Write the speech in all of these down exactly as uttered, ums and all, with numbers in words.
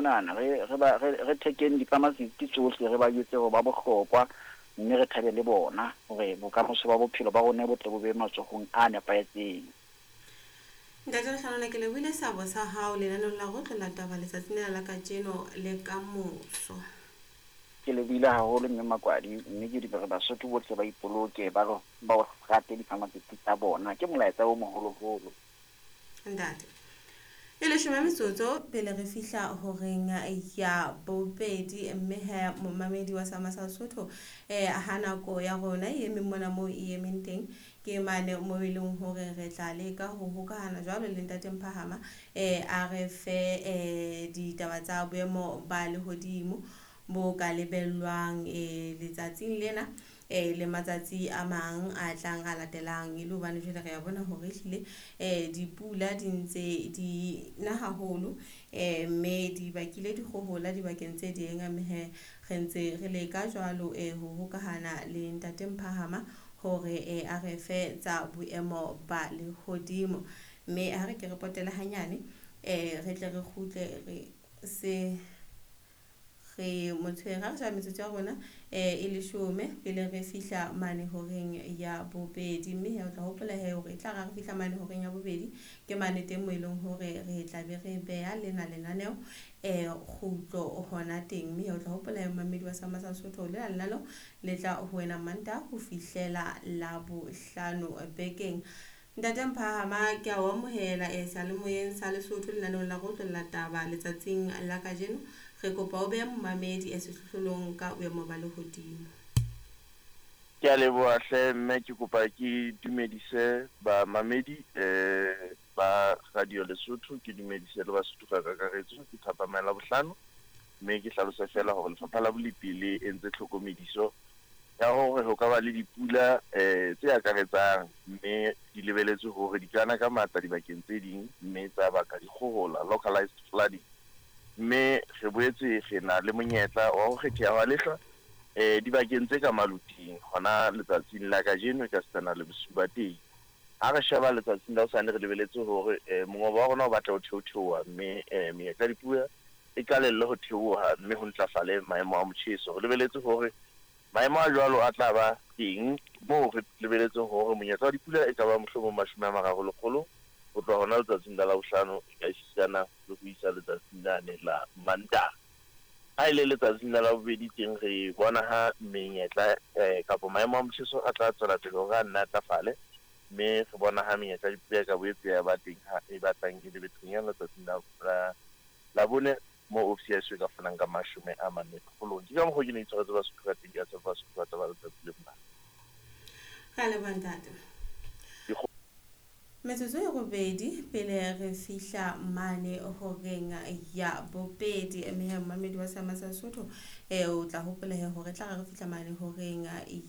monana re re ba re re thekeng di-pharmacist tsohle, re ba jwetse hore ba bohlokwa, mme re thabe le bona hore bokamoso ba bophelo ba rona bo tle bo be matsohong a nepahetseng. Ntate Lehlohonolo, ke lebohile seabo sa hao lenaneong la go tlola taba letsatsing lena la kajeno le ka moso. Ke lebohile haholo mme Makwadi, mme ke re Basotho bohle ba ipoloke, ba re ba rate di-pharmacist tsa bona, ke molaetsa o moholoholo. Ntate, e leshome metsotso pele re fihla horeng ya bobedi, mme he momamedi wa Sama sa Sesotho, eh ha nako ya rona e emeng mona moo e emeng teng, ke mane moo e leng hore re tla leka ho hokahana jwalo le Ntate Mphahama, eh a re fe eh ditaba tsa boemo ba lehodimo bo ka lebellwang eh letsatsing lena eh le matsatsi a mang a tlang a latelang, e le hobane jwale re a bona hore ehlile eh dipula di ntse di na haholo, eh mme di bakile dikgohola dibakeng tse ding, mme he re ntse re leka jwalo eh ho hokahana le Ntate Mphahama hore eh a re fe tsa boemo ba lehodimo. Mme ha re ke re potele hanyane, eh re tle re kgutle re se re motshwere ha re sheba metsotso ya rona eh e leshome pele re fihla mane horeng ya bobedi, mme he o tla hopola he hore e tla re ha re fihla mane horeng ya bobedi ke mane teng moo e leng hore re tla be re beha lena lenaneo eh kgutlo hona teng. Mme he o tla hopola he momamedi wa Sama sa Sesotho, lena lenaneo le tla ho wena Mantaha ho fihlela Labohlano bekeng. Ntate Mphahama, ke a o amohela eh seyalemoyeng sa Lesotho lenaneong la go tlolla taba letsatsing la kajeno. Re kopa o behe momamedi e sehlohlolong ka boemo ba lehodimo. Ke a leboha hle mme, ke kopa ke dumedise bamamedi eh ba Radio Lesotho, ke dumedise le Basotho ka kakaretso. Ke thapama ya Labohlano, mme ke hlalose fela hore lefapha la bolepi le entse tlhokomediso ya hore ho ka ba le dipula eh tse akaretsang, mme di lebeletswe hore di kana ka matla dibakeng tse ding, mme tsa baka dikgohola, localized flooding. Mme re boetse re na le monyetla wa ho kgetheha wa lehlwa eh dibakeng tse ka maluting hona letsatsing la kajeno e ka sitana le bosiu ba teng. Ha re sheba letsatsing la hosane, re lebeletse hore eh mongobo wa rona o batla ho theotheoha, mme eh menyetla ya dipula e qalelle ho theoha, mme ho ntlafale maemo a motjheso. Re lebeletse hore maemo a jwalo a tla ba teng moo re lebeletseng hore monyetla wa dipula e ka ba mohlomong mashome a mararo lekgolo ho tloha hona letsatsing la Labohlano e ka esitana le ho isa letsatsing lane la Mantaha. Ha e le letsatsing la Labobedi teng re bona ha menyetla eh kapa maemo a motjheso a tla tswela pele hore a nne a ntlafale, mme re bona ha menyetla ya dipula e ka boetse ya ba teng ha e batlang e le bethonyana letsatsing la la Labone moo ofisi ya heso e ka fanang ka mashome a mane lekgolong. Ke ka mokgwa ke ne ke tshwaretse Basotho ka teng, ke a tshepa Basotho ba tla ba letsatsi le monate. Re a leboha ntate. Metsotso e robedi pele re fihla mane horeng ya bobedi, mme he momamedi wa Sama sa Sesotho eh o tla hopola he hore tla re fihla mane horeng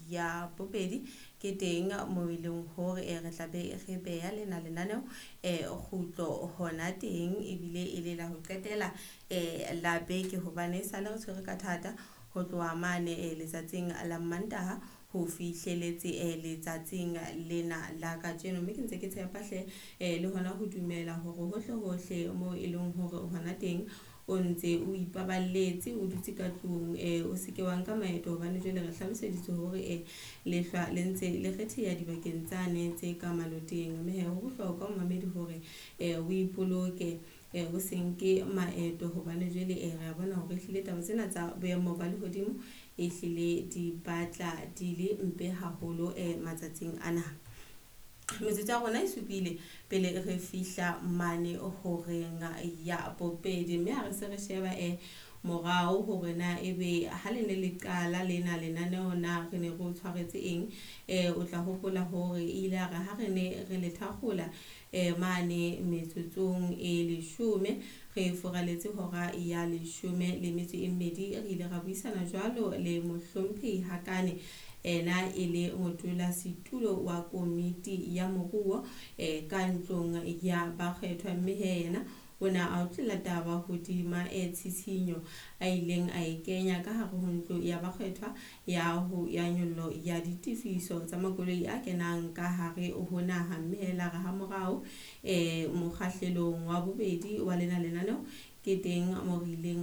ya bobedi ke teng moo e leng hore eh re tla be re beha lena lenaneo eh kgutlo hona teng, ebile e le la ho qetela eh la beke, hobane sale re tshwere ka thata ho tloha mane eh letsatsing la Mantaha ho fihleletse eh letsatsing lena la kajeno. Mme ke ntse ke tshepa hle eh le hona ho dumela hore hohle hohle moo e leng hore hona teng o ntse o ipaballetse, o dutse ka tlung, eh o seke wa nka maeto, hobane jwale re hlaloseditswe hore eh lehlwa le ntse le kgetheha dibakeng tsane tse ka maloteng. Mme he ho bohlokwa momamedi hore eh o ipoloke, eh o se nke maeto, hobane jwale eh re a bona hore ehlile taba tsena tsa boemo ba lehodimo ehlile di batla di le mpe haholo eh matsatsing ana. Metsotso ya rona e supile pele re fihla mane horeng ya bobedi, mme ha re se re sheba eh morao hore na ebe ha le ne le qala lena lenaneo na re ne re o tshwaretse eng, eh o tla hopola hore ile a re ha re ne re le thakgola eh mane metsotsong e leshome re furaletse hora ya leshome le metso e mmedi, re ile ra buisana jwalo le mohlomphehi Hakane, ena e le modulasetulo wa komiti ya moruo eh ka ntlong ya bakgethwa, mme he yena o ne a otlela taba hodima e tshitshinyo a ileng a e kenya ka hare ho ntlo ya bakgethwa ya ho ya nyollo ya ditefiso tsa makoloi a kenang ka hare ho naha. Mme he la re ha morao eh mokgahlelong wa bobedi wa lena lenaneo ke teng mo re ileng